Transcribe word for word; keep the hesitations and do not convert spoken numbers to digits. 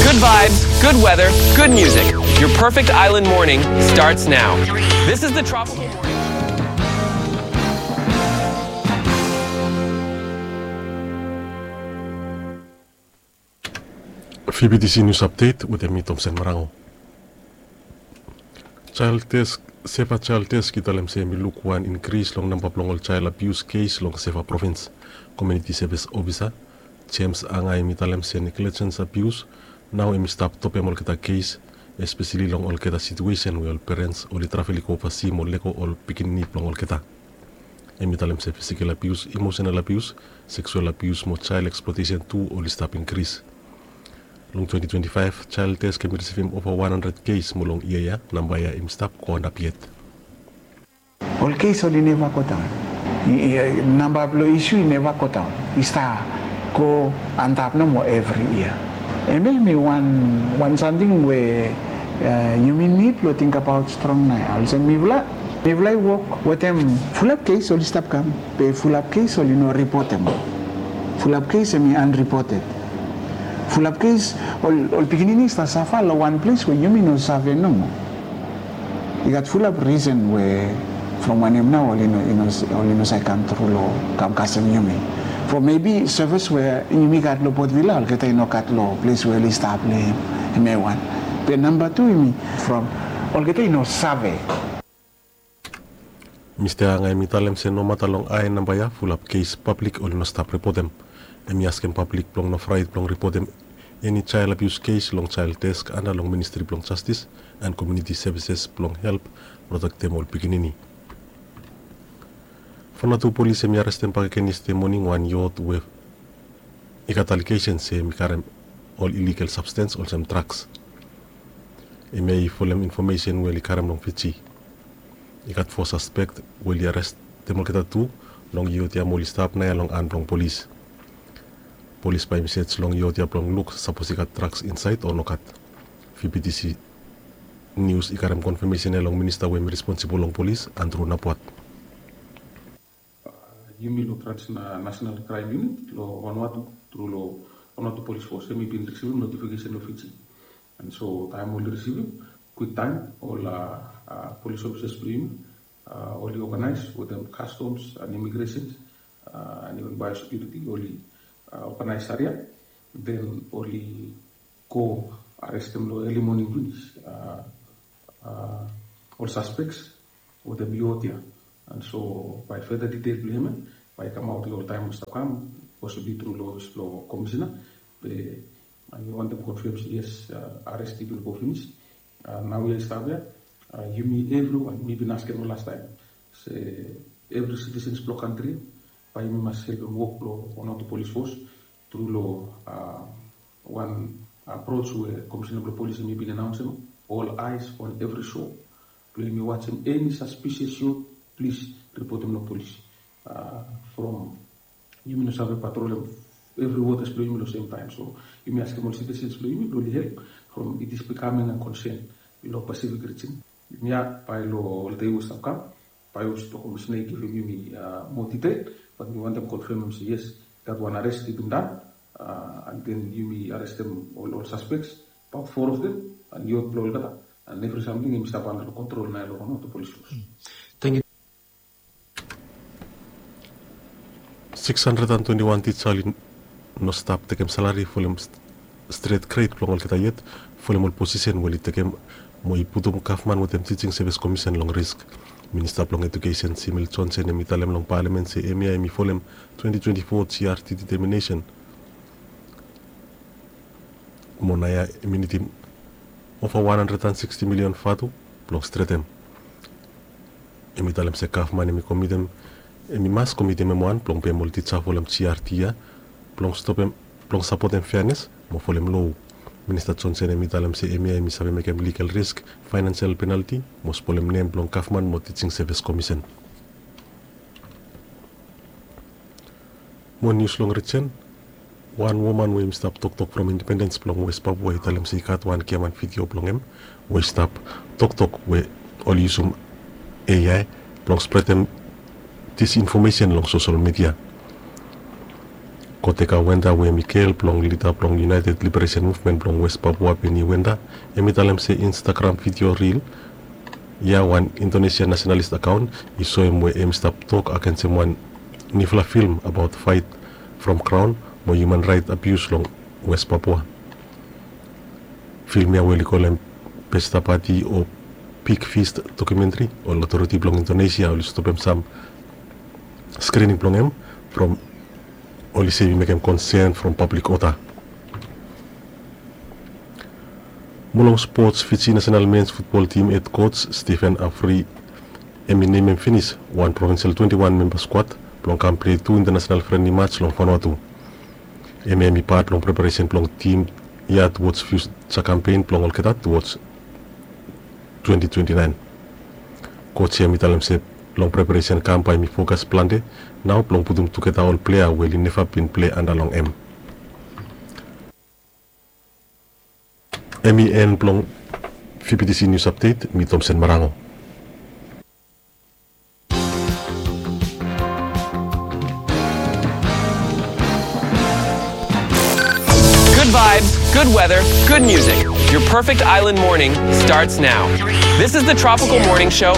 Good vibes, good weather, good music. Your perfect island morning starts now. This is the Tropical Morning. Fibitisi nius apdet wetem mi, Tomsen Marango. Child Desk, Seva Child Desk i talem se hemi luk wan inkris long namba blong ol child abius kes long Seva provins. Komuniti sevis ofisa Jems Angai hemi talem se neglijens abius nao hemi stap topem olgeta kes, espeseli long olgeta situesen we ol perens oli travel i go ovasi mo lego ol pikinini blong olgeta. Hemi talem se fisikal abius, emosenal abius, seksual abius mo child eksplotesen tu oli stap inkris. Long twenti twenti faef, Child Desk hemi risivim ova wan handred kes, mo long yia ya namba ya hemi stap go antap yet. Ol kes oli neva godaon. Namba blong isu i neva godaon, i stap go antap nomo evri yia. Hemia hemi wan, wan samting we yumi nid blong tingbaot strong nao ya. Olsem mifala, mifala i wok wetem fulap kes oli stap kam, be fulap kes oli no ripotem. Fulap kes hemi anripoted. Fulap kes ol, ol pikinini i stap safa long wan ples we yumi no save nomo. I gat fulap risen we from wanem nao oli no, oli no save kam tru long kam kasem yumi. From mebi sevis we yumi gat long Port Vila, olgeta i no gat long ples we oli stap long hem. Hemia i wan. Be namba tu hemi from olgeta i no save. Mista Angai hemi talem se nomata long ae namba ya, fulap kes pablik oli no stap ripotem. Hemi askem pablik blong no fraet blong ripotem eni child abuse kes long Child Desk anda long Ministri blong Jastis and Komuniti Sevises blong help protektem ol pikinini. Vanuatu polis hemi arestem bakegen yestede moning wan yot we i gat alegesen se hemi karem ol iligal sabstens olsem draks. Hemia i folem infomesen we oli karem long Fiji. I gat fo saspek we oli arestem olgeta tu long yot ya mo oli stap naoia long han blong polis. Polis bae hemi sej long yot ya blong luk sapos i gat draks insaed o nogat. Fibitisi Nius i karem konfamesen ya long minista we hemi responsibol long polis, Andrew Napuat. Yumi long Transnational Crime Unit long Vanuatu tru long Vanuatu Police Force, hemi bin risivim notifikesen long Fiji. And so taem oli risivim, kwiktaem ol polis ofisas blong yumi oli oganaes wetem Customs and Immigration and even Biosecurity, oli oganaes aria. Den oli go arestem long eli moning finis ol saspeks wetem yot ya. And so bae feda ditel blong hem ya bae i kamaot long ol taem we stap kam, posibli tru long ofis blong komisena. Be mi wantem konfam se yes, ares i bin go finis. Naoia i stap ya, yumi evriwan, mi bin askem long lastaem se evri sitisens blong kantri ya bae yumi mas helpem wok blong Vanuatu Polis Fos tru long wan apros we komisena blong polis hemi bin anaonsem, all eyes on every shore. Blong yumi wajem eni saspisias yot, plis ripotem long polis. From yumi no save patrolem evri wotas blong yumi long sem taem. So yumi askem ol sitisens blong yumi blong oli help from it is becoming a concern long Pacific region. Yumi ya bae long ol dei we stap kam bae ol stap komisena i givim yumi moa ditel, bat mi wantem konfamem se yes, i gat wan ares i bin dan. And then yumi arestem ol, ol saspeks, abaot foa of dem, and yot blong olgeta, and evri samting hemi stap anda long kontrol naoia long Vanuatu Polis Fos. Thank you. Six hundred and twenty-one tija oli no stap tekem salari folem stret gred blong olgeta yet, folem ol posisen we oli tekem mo i putum gavman wetem Teaching Service Commission long risk. Minista blong Edukesen Simil Johnson hemi talem long palamen se hemia hemi folem twenty twenty-four G R T determination. Mo naoia hemi nidim ova wan handred and siksti milion vatu blong stretem. Hemi talem se gavman hemi komitem, hemi mas komitem hem wan blong pem ol tija folem G R T ya blong stopem, blong sapotem feanes mo folem loa. Minista Johnson hemi talem se hemia hemi save mekem ligal risk, faenansial penalti mo spolem nem blong gavman mo Teaching Service Commission. Mo nius long rijen, wan woman we hemi stap toktok from Independens blong West Papua i talem se i gat wan giaman vidio blong hem we i stap toktok we oli yusum A I blong spretem disinfomesen long sosel midia. Koteka Wenda we hem i gel blong lida blong United Liberation Movement blong West Papua Beni Wenda, hem i talem se Instagram vidio ril ya wan Indonesia nasionalis akaon i soem we hem i stap tok agensem wan niufala film abaot faet from graon mo hiuman raet abius long West Papua. Film ya we oli kolem Pesta Party o Big Feast dokumentri, ol otoriti blong Indonesia oli stopem sam skrining blong hem from oli sevi mekem konsen from pablik oda. Mo long spots, Fiji nasional mens futbol tim hed koj Stephen Avery hem i nemem finis wan provinsel twenti wan memba skuad blong kam plei tu intanasional frenli mats long Vanuatu. Hem hem i pat long preparesen blong tim ya tuwods fiuja kampen blong olgeta tuwods twenti twenti naen. Koj ya hem i talem se long preparesen kam bae hem i fokas plante nao blong putum tugeta ol plea we oli neva bin plei anda long hem. Hem i en blong V B T C News Update, mi Tomsen Marango. Good vibes, good weather, good music. Your perfect island morning starts now. This is the Tropical Morning Show.